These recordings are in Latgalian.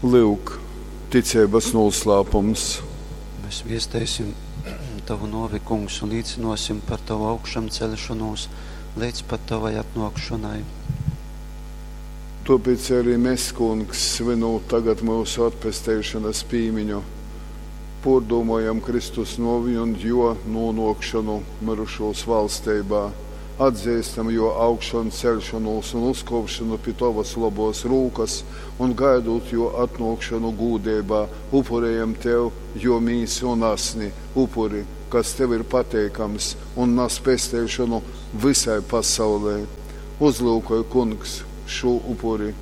Lyuk, ticeibas nūslāpums. Mēs viesteisim Tovu nōvi, Kungs, un līcynōsim par Tovu augšamceļšonūs leidz pat Tovai atnōkšonai. Tōpēc ari mes, Kungs, svynūt tagad myusu atpesteišonas pīmiņu, pōrdūmojam Kristus nōvi un Jō nūnōkšonu myrušūs valsteibā, atzeistam Jō augšanceļšonūs un uzkōpšonu pi Tovas lobōs rūkas un, gaidūt Jō atnōkšonu gūdeibā, upurejam Tev Jō mīsu un asni, upuri, kas Tev ir pateikams un nas pesteišonu vysai pasaulei. Uzlyukoj, Kungs, šū upuri,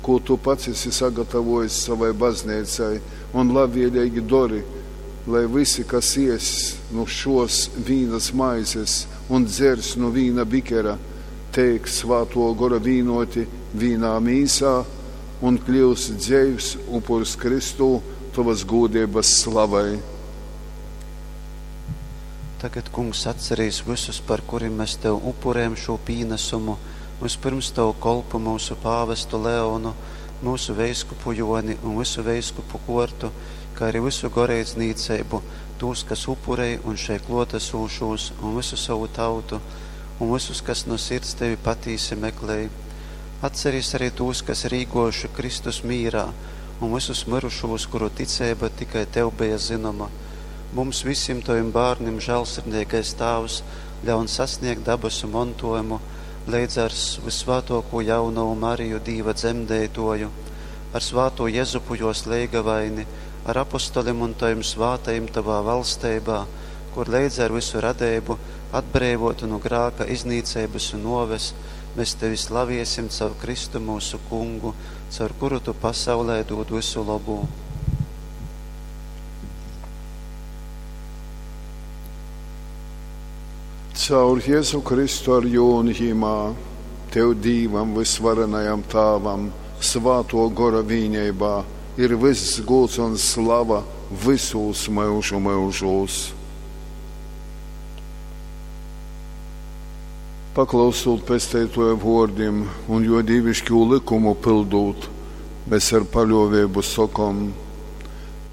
kū Tu pats esi sagatavōjis sovai Bazneicai, un labvēleigi dori, lai vysi, kas ēss nu šōs vīnas maizes un dzers nu vīna bikera, teik Svātō Gora vīnōti vīnā mīsā un kļyust dzeivs upurs Kristū Tovas gūdeibas slavai. Tagad, Kungs, atcerīs vysus, par kurim mes Tev upurējam šū pīnasumu, vyspyrms Tovu kolpu myusu pāvestu Leonu, myusu veiskupu Jōni un vysu veiskupu kōrtu, kā arī vysu goreidznīceibu, tūs, kas upurej un šeit klōtasūšūs, un vysu sovu tautu, un vysus, kas no sirds Tevi patīsi meklej. Atcerīs arī tūs, kas ir īgōjuši Kristus mīrā, un vysus myrušūs, kuru ticeiba tikai Tev beja zynoma. Mums vysim Tovim bārnim, žālsirdīgais Tāvs, ļaun sasniegt dabasu montojumu leidz ar vyssvātōkū jaunovu Mariju Dīva dzemdeitoju, ar svātū Jezupu jōs leigavaini, ar apostolim un Tovim svātajim Tovā valsteibā, kur leidz ar visu radeibu, atbreivotu nu grāka iznīceibas un nōves, mēs Tevi slaviesim caur Kristu mūsu Kungu, caur kuru Tu pasaulē dūd visu labū. Caur Jēzu Kristu ar jū un Jimā, Tev Dīvam vysvarenajam Tāvam, Svātō Gora vīneibā, ir vyss gūds un slava vysūs myužu myužūs. Paklausūt Pesteitōja vōrdim un Jō dīviškū lykumu pyldūt, mes ar paļōveibu sokom,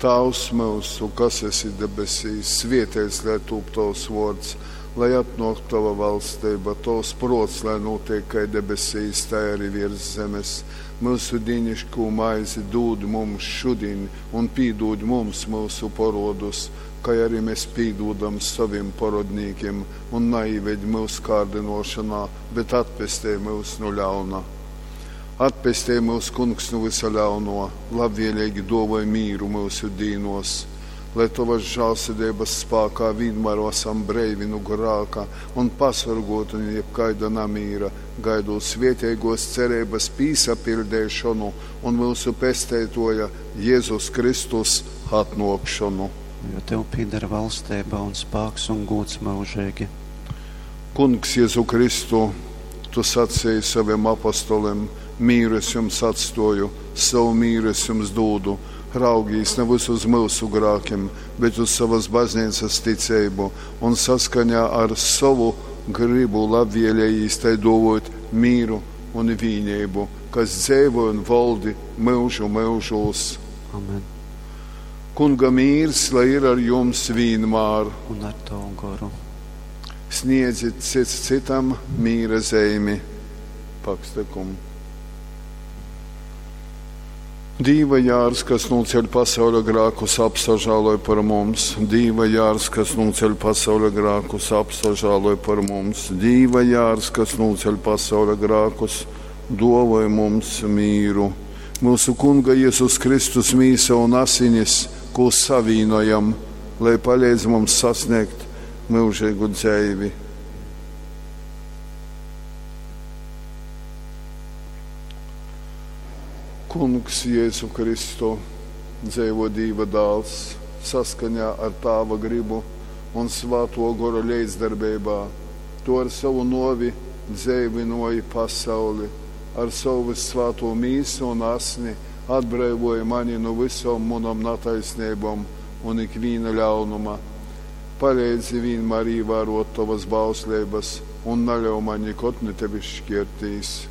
Tāvs myusu, kas esi debesīs, svēteits lai tūp Tovs vōrds, lai atnōk Tova valsteiba, Tovs prōts lai nūteik kai debesīs, tai arī viers zemes. Myusu dīniškū maizi dūd mums šudiņ un pīdūd mums myusu porodus, kai arī mēs pīdūdam sovim porodnīkim, un naīved myus kārdynōšanā, bet atpestej myus nu ļauna. Atpestej myus, Kungs, nu vysa ļauno, labvēlīgi dōvoj mīru myusu dīnos, lai Tovas žālsirdeibas spākā vienmēr esam breivi nu grāka un pasorgoti nu jebkaida namīra, gaidot svētīgos cerības pīsapiļdeišonu un myusu Pesteitoja Jēzus Kristus atnōkšonu. Jo Tev pieder valsteiba un spāks un gūds mūžīgi. Kungs Jēzu Kristu, Tu sacīji saviem apostoliem, mīru es jums atstoju, savu mīru es jums dūdu. Raugīs nevis uz mūsu grākiem, bet uz savas baznīcas ticību un saskaņā ar savu gribu labvēlējīs tai dovot mīru un vīnību, kas dzeivo un valdi myužu myužūs. Amen. Kunga mīrs, lai ir ar jums vienmēr. Un ar Tavu goru. Sniedzit cits citam mīra zeimi. Pakstekumu. Dīva jārs, kas nūceļ pasauļa grākus, apsažāloj par mums. Dīva jārs, kas nūceļ pasauļa grākus, apsažāloj par mums. Dīva jārs, kas nūceļ pasauļa grākus, dovoj mums mīru. Mūsu Kunga Jēzus Kristus mīsa un asinis, ko savīnojam, lai palīdz mums sasniegt mūžīgu dzeivi. Kungs Jēzu Kristu, dzeivo Dīva dāls, saskaņā ar Tāva gribu un Svāto Gora līdzdarbeibā, Tu ar savu novi dzeivinoji pasauli, ar savu vissvāto mīsu un asni atbrīvoji mani no visom manām netaisnībām un ikviena ļaunuma. Palīdzi vienmēr ievērot tavas bauslības un neļauj man nekad no tevis šķirtīs.